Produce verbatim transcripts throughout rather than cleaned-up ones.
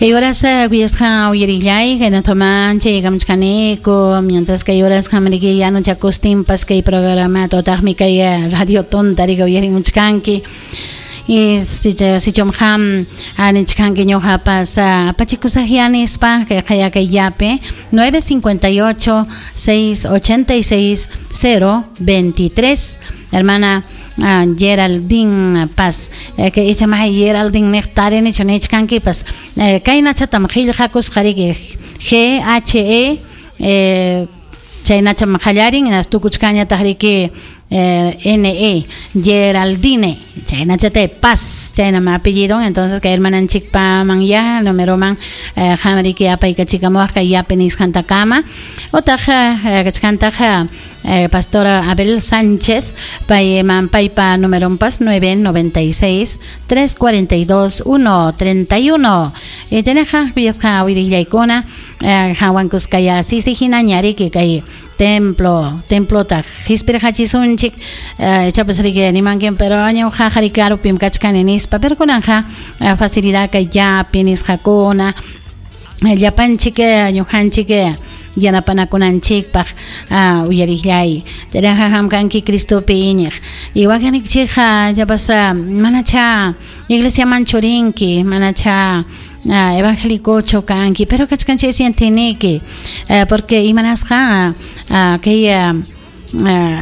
Kay horas kuyasqa uyarillay kaynataman chaykamuchkaniku mientras kay horas hamriki yanuchakustinpas kay programa tutaqmi kay radio tonta rika uyarimuchkanki y sichum ham anichkanki ñuqapas apachikusaqya nispa kay qayakayllapi nueve cincuenta y ocho, seis ochenta y seis, cero veintitrés. Hermana uh, Geraldine Paz, eh, que icha maha Geraldine niqtari nichu nichkankipas eh, kaynachatam qillqakusqa riki G H E eh, chaynacham qallarin hinas tukuchkañataq riki eh, N E Geraldine chaynachata Paz chaynam apellido. Entonces kay hermananchikpaman ya numeroman eh, hamriki apaykachikamuwaq kay yapi nisqantakama otaq eh, kachkantaq eh, pastora Abel Sánchez payman paypa numeronpas nueve noventa y seis, tres cuarenta y dos, uno treinta y uno. Eh, chaynaqa kuyasqa wirillaykuna eh, hawankuskaya sisi hinaña riki kay templo templota hispirqachisunchik eh, ichapas riki nimankin pero ñuqa qhari karupim kachkani nispa pero kunanja eh, facilidad kay yapi nisqakuna llapanchik ñuqanchik yanapanakunanchikpaq uh, uyarillay chayraqa hamkanki Cristopi iñiq y wakinchikqa llapas manacha iglesiaman churinki manacha uh, evangélicochu kanki pero kachkanchik sientiniki uh, porque imanasqa uh, kay uh, uh,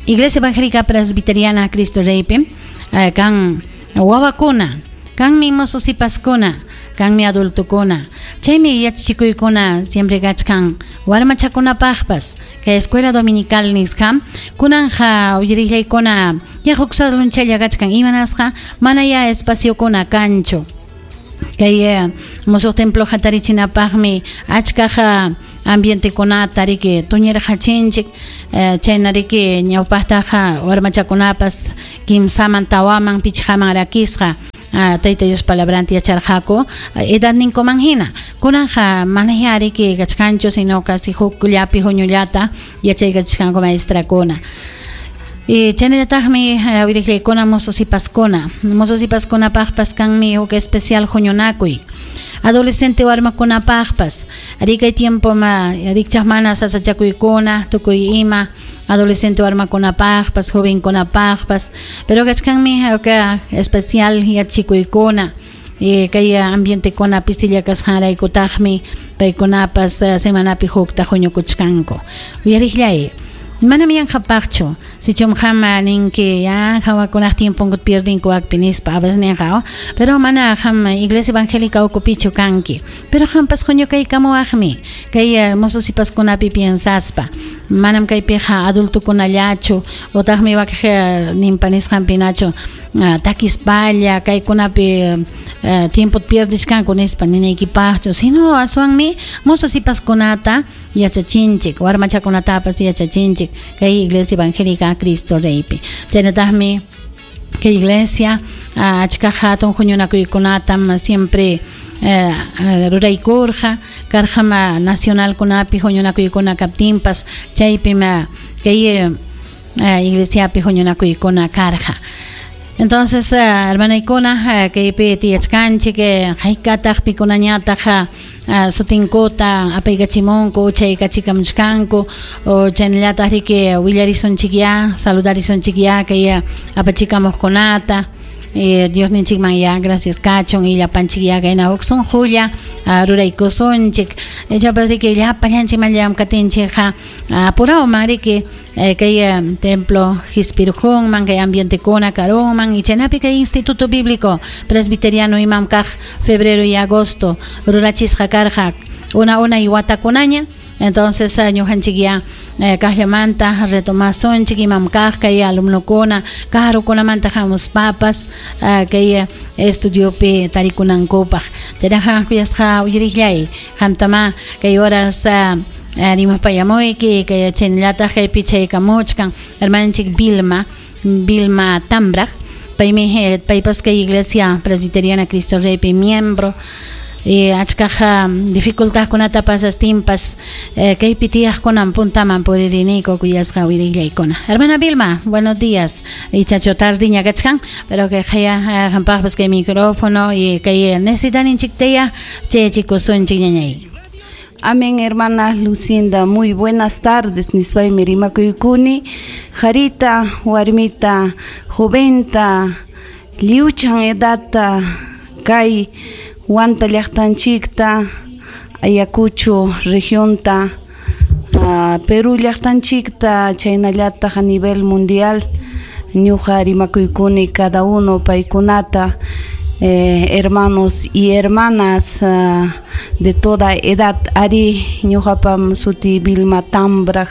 Iglesia Evangélica Presbiteriana Cristo Reypi uh, kan wawakuna kanmi mososipaskuna kanmi adultokuna chaymi yachachikuykuna siempre kachkan warmachakunapaqpas kay escuela dominical nisqa kunanja uyarillaykuna ya huk salonchalla kachkan imanasqa mana ya espaciokuna kanchu kay eh, musuq templo hatarichinapaqmi achkaqa ambientekunata riki tuñirqachinchik eh, chayna riki ñawpaqtaqa warmachakunapas kimsaman tawaman pichqaman rakisqa Uh, Tayta Dios palabranta yacharqaku edadninkuman hina kunanja mana riki kachkanchu sino casi hukllapi huñullata yachaykachkanku maestrakuna y chaynallataqmi wiriqllaykuna mososipaskuna mososipaskunapaqpas kanmi huk especial huñunakuy adolescente warmakunapaqpas rikay tiempo ma rikchaq mana sasachakuykuna tukuy ima adolescente warmakunapaqpas jovenkunapaqpas pero kachkanmi huk especial yachikuykuna y kay ambientekuna pisilla kasqanraykutaqmi paykunapas semanapi hukta huñukuchkanku uyariqllay manam yanqapaqchu sichum qam ninki ya hawakunaq tiemponkuta pierdinku wakpi nispa a veces ninqa pero mana qam iglesia evangélica ukupichu kanki pero qampas huñukaykamuwaqmi kay mososipaskunapi piensaspa manam kaypiqa adultokunallachu utaqmi wak ninpa nisqanpinachu takispalla kaykunapi tiempo pierdishkanku nispa ninaykipaqchu sino aswanmi mososipaskunata yachachinchik warmachakunatapas yachachinchik kay iglesia evangélica Cristo Reypi chaynataqmi kay iglesia achka hatun huñunakuykunatam siempre eh, ruraykurqa karqama nacionalkunapi huñunakuykuna kaptinpas chaypim kay eh, iglesiapi huñunakuykuna karqa. Entonces, uh, hermanaykuna uh, kaypi tiyachkanchik haykataq pikunañataq uh, sutinkuta apaykachimunku chaykachikamuchkanku o chaynallataq riki willarisunchik ya saludarisunchik ya kay apachikamuqkunata eh, Dios ninchikman ya gracias kachun y llapanchik ya kayna huk sunqulla uh, ruraykusunchik ichapas riki llapallanchikman llamkatinchikqa apurawman riki eh, kay eh, templo hispirjunman kay ambientekuna karunman y chaynapi kay Instituto Bíblico Presbiteriano imam kaq febrero y agosto rurachisqa karqa una una y watakunaña. Entonces ñuqanchik ya eh, kaqllamanta retomasunchik imam kaq kay alumnukuna karukunamanta hamuspapas uh, kay estudiopi tarikunankupaq chaynaqa kuyasqa uyariqllay qamtama kay horas uh, rimapayamuyki kay chaynallataq kaypi chaykamuchkan hermananchik Vilma Vilma Tambraq paymi paypas kay Iglesia Presbiteriana Cristo Reypi miembro. Y achkaq dificultadkunata pasastinpas kaypi tiyaqkunan puntaman puririniku kuyasqa wirillaykuna. Hermana Vilma, buenos días. Ichachu tardiña kachkan, pero que qaya qampaqpas kay micrófono y kay necesitaninchiktaya chayachikusunchik ñañay. Amén, hermana Lucinda, muy buenas tardes. Nispaymi rimakuykuni, qarita, warmita, joventa, liuchan edadta, kay Huanta llaqtanchikta, Ayacucho regionta, uh, Perú llaqtanchikta, chaynallataq a nivel mundial, ñuqa rimakuykuni cada uno paykunata, eh, hermanos y hermanas uh, de toda edad. Ari ñuqapam suti Vilma Tambraj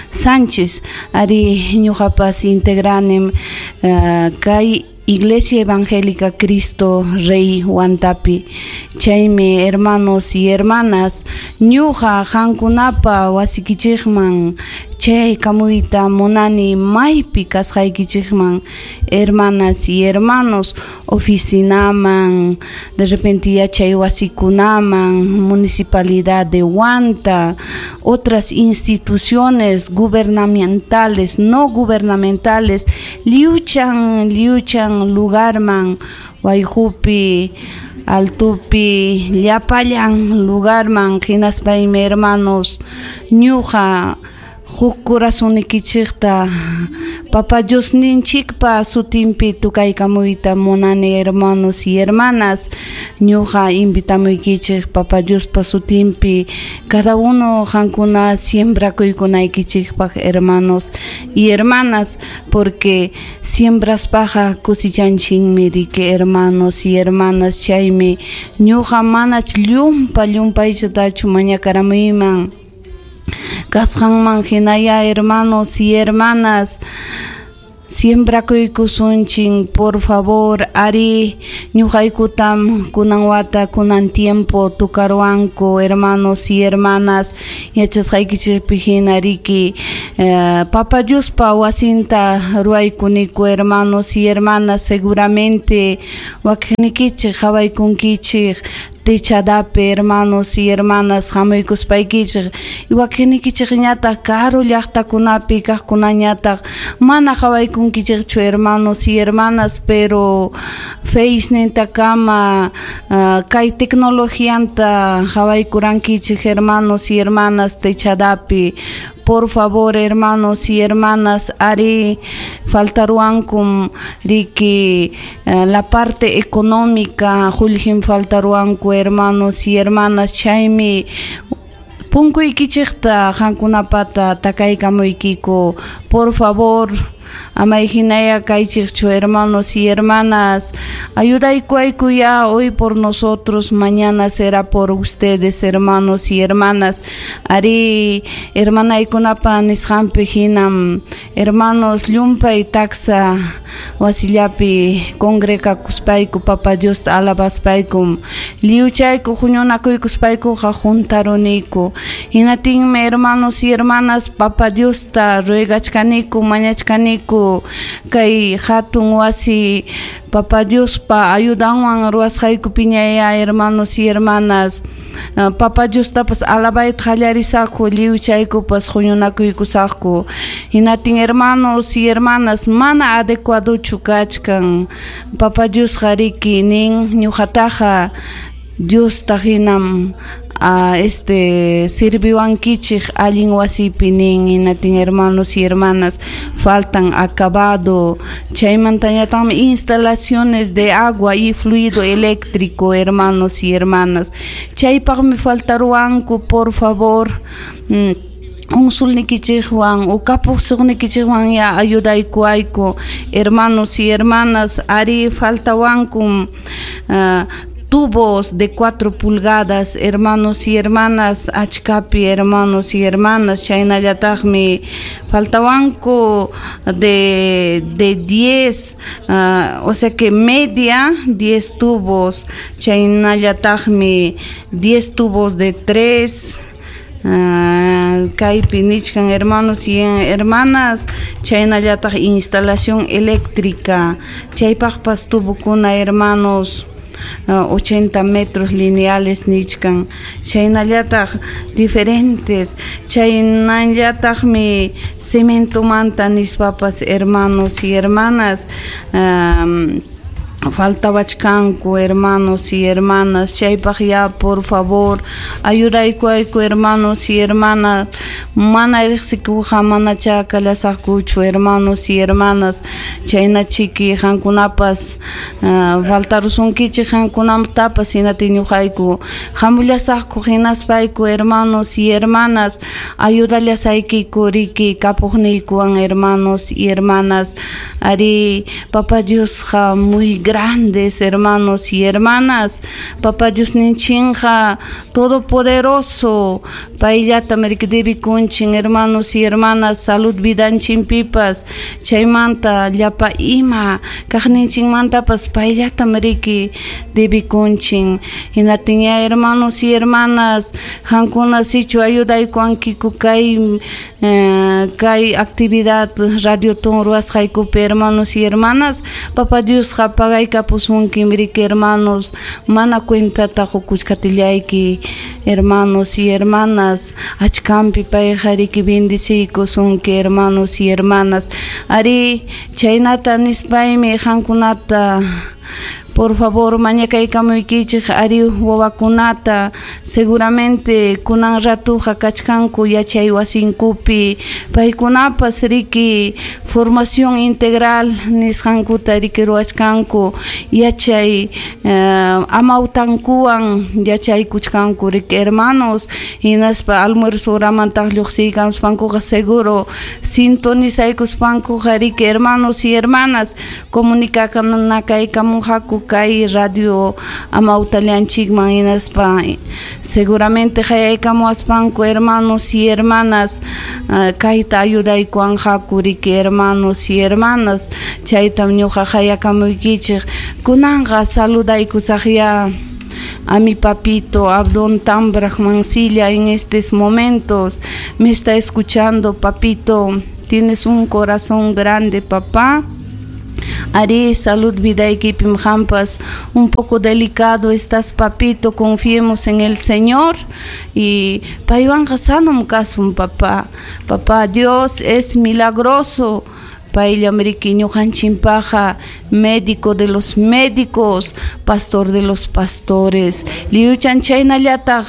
Sánchez, ari ñuqapas integranim uh, kay Iglesia Evangélica Cristo Rey Huantapi. Chaymi hermanos y hermanas, ñuqa qankunapa wasikichikman chay kamuyta munani maypi kasqaykichikman, hermanas y hermanos, oficinaman, de repente yachay wasikunaman, municipalidad de Huanta, otras instituciones gubernamentales, no gubernamentales, liuchan, liuchan lugarman, wayqupi, altupi, llapallan lugarman, hinaspaymi hermanos, ñuqa huk corazonnikichikta Papa Diosninchikpa sutinpi tukaykamuyta munani, hermanos y hermanas. Ñuqa invitamuykichik Papa Diospa sutinpi cada uno qankuna siembrakuykunaykichikpaq, hermanos y hermanas, porque siembraspaqa kusichanchikmi riki, hermanos y hermanas. Chaymi ñuqa manach llumpa llumpayllatachu mañakaramuyman kasqanman hinaya, hermanos y hermanas, siembrakuykusunchik, por favor. Ari ñuqaykutam kunan wata, kunan tiempo tukaruwanku, hermanos y hermanas, yachasqaykichikpi hina riki, eh, Papa Diospa wasinta ruwaykuniku, hermanos y hermanas. Seguramente wakiqnikichik qhawaykunkichik techadapi, hermanos y hermanas, hamuykuspaykichik, y wakiqnikichikñataq karu llaqtakunapi kaqkunañataq mana qhawaykunkichikchu, hermanos y hermanas, pero Facenintakama uh, kay tecnologianta qhawaykurankichik, hermanos y hermanas, techadapi. Por favor, hermanos y hermanas, ari faltaruankum riki uh, la parte económica, qullqim faltaruanku, hermanos y hermanas. Chaymi punkuykichikta qankunapata takaykamuykiku, por favor. Amay hinaya kaychikchu, hermanos y hermanas, ayudaykuayku ya hoy por nosotros, mañana será por ustedes, hermanos y hermanas. Ari hermanaykunapa nisqanpi hinam, hermanos, llumpay taksa wasillapi congregakuspayku Papa Diosta alabaspaykum lliwchayku huñunakuykuspaykuqa juntaruniku. Hinatinmi, hermanos y hermanas, Papa Diosta ruegachkaniku, mañachkaniku kay hatun wasi Papa Diospa ayudanwan ruwasqaykupiñaya, hermanos y hermanas, uh, Papa Diostapas alabayta qallarisaqku, lliwchaykupas huñunakuykusaqku. Hinatin, hermanos y hermanas, mana adecuadochu kachkan. Papa Diosqa riki nin ñuqataqa Diosta hinam uh, este sirviwankichik allin wasipi nin. Hinatin, hermanos y hermanas, faltan acabado, chaymantañataqmi instalaciones de agua y fluido eléctrico, hermanos y hermanas, chaypaqmi faltaruwanku, por favor. mm, Unsulnikichikwan o kapuqsuqnikichikwan ya ayudaykuwayku, hermanos y hermanas. Ari faltawankum uh, tubos de cuatro pulgadas, hermanos y hermanas, achkapi, hermanos y hermanas, chaynallataqmi faltawanku de, de diez, uh, o sea que media, diez tubos, chaynallataqmi diez tubos de tres, uh, kaypi nichkan, hermanos y hermanas, chaynallataq instalación eléctrica, chaypaqpas tubokuna, hermanos. ochenta metros lineales nichkan chaynallataq diferentes chaynallataqmi cementomanta nispapas hermanos y hermanas um, faltawachkanku hermanos y hermanas chaypaq ya por favor ayudaykuayku hermanos y hermanas mana riqsikuqa mana chakallasaqkuchu hermanos y hermanas chaynachiki qankunapas uh, faltarusunkichik qankunatapas hinati ñuqayku hamullasaqku hinaspayku hermanos y hermanas ayudallasaykiku riki kapuqniykuwan hermanos y hermanas ari Papa Diosqa muy grandes hermanos y hermanas Papa Dios ninchinqa todopoderoso payllata riki debikunchin hermanos y hermanas salud vidanchinpipas chaymanta llapa ima kaqninchinmantapas payllata riki debikunchin hinatinya hermanos y hermanas qankuna sichu ayudaykuwankiku kay eh, kay actividad Radio Ton ruwasqaykupi hermanos y hermanas Papa Diosqa pagaykapusunkim riki hermanos mana cuentata qukuchkatillayki hermanos y hermanas achkampi payqa riki bendeciykusunki hermanos y hermanas ari chaynata nispaymi qankunata por favor mañakaykamuykichik ari wawakunata seguramente kunan ratuqa kachkanku yachay wasinkupi paykunapas riki formación integral nisqankuta riki ruwachkanku yachay uh, amawtankuwan yachaykuchkanku riki hermanos hinaspa almuerzo horamantaq lluqsiykamuspankuqa seguro sintonizaykuspankuqa riki hermanos y hermanas comunicakanakaykamunqaku kay radio amawtallanchikman hinaspa seguramente qayaykamuwaspanku hermanos y hermanas uh, kayta ayudaykuwanqaku riki hermanos y hermanas chaytam ñuqa qayakamuykichik kunanqa saludaykusaqya a mi papito Abdón Tambraj Mancilla en estos momentos me está escuchando papito tienes un corazón grande papá Ari, salud vida equipim jampas un poco delicado estás papito confiemos en el Señor y paywanqa sanum kasun papá papá Dios es milagroso payllam riki ñuqanchimpaqa médico de los médicos pastor de los pastores lliwchan chaynallataq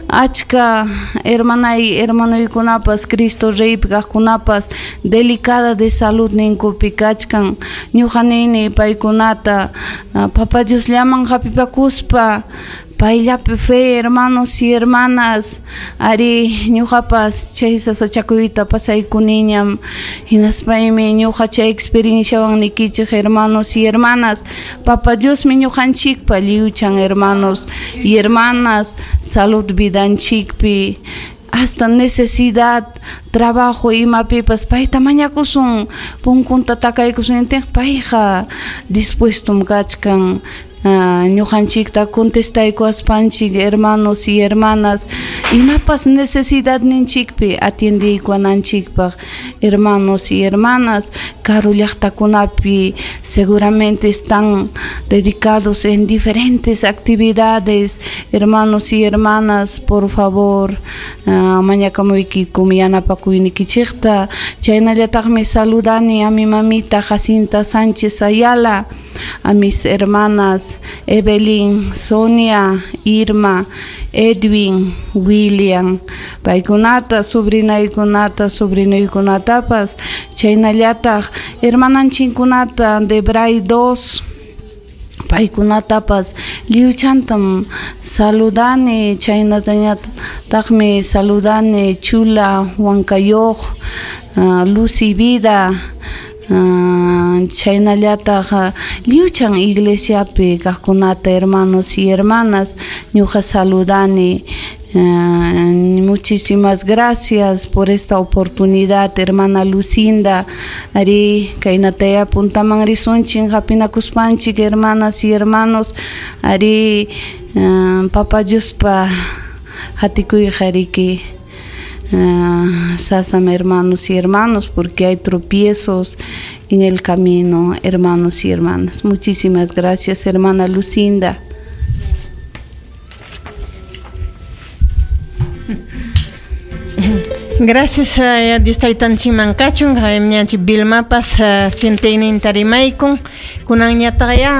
achka hermanay hermanuykunapas Cristo Reypi kaqkunapas delicada de salud ninkupi kachkan ñuqa nini paykunata Papa Diosllaman hapipakuspa payllapi fe hermanos y hermanas ari ñuqapas chay sasachakuyta pasaykuniñam hinaspaymi ñuqa chay experienciawan nikichik hermanos y hermanas Papa Diosmi ñuqanchikpa lliwchan hermanos y hermanas salud vidanchikpi hasta necesidad trabajo imapipas payta mañakusun punkunta takaykusun payqa dispuestum kachkan ñuqanchikta contestaykuaspanchik hermanos y hermanas imapas necesidad ninchikpi atiendiykuananchikpaq hermanos y hermanas karu llaqtakunapi seguramente están dedicados en diferentes actividades hermanos y hermanas por favor uh, mañakamuykikum yanapakuynikichikta chaynallataqmi saludani a mi mamita Jacinta Sánchez Ayala a mis hermanas Evelyn, Sonia, Irma, Edwin, William, paykunata, sobrinaykunata, sobrinuykunatapas, chaynallataq hermananchinkunata de Bray dos, paykunatapas lliwchantam saludani, chaynatañataqmi saludani Chula, Huancayoq, uh, Lucy Vida, Uh, chaynallataq lliwchan iglesiapi kaqkunata hermanos y hermanas ñuqa saludani. Uh, muchísimas gracias por esta oportunidad hermana Lucinda ari kaynataya puntaman risunchik hapinakuspanchik hermanas y hermanos ari uh, Papa Diospa hatikuyqa riki Uh, sasam hermanos y hermanos porque hay tropiezos en el camino hermanos y hermanas. Muchísimas gracias hermana Lucinda. Gracias a Dios taytanchikman kachun, ñanchik Vilmapas sienteyninta rimaykun, kunanñataqya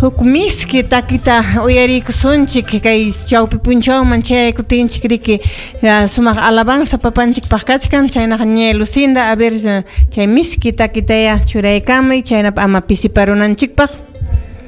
huk miski takita uyariykusunchik kay chawpi punchawman chayaykutinchik riki sumaq alabanza papanchikpaq kachkan, chaynaqa ña Lucinda, a ver chay miski takitaya churaykamuy, chaynap ama pisiparunanchikpaq.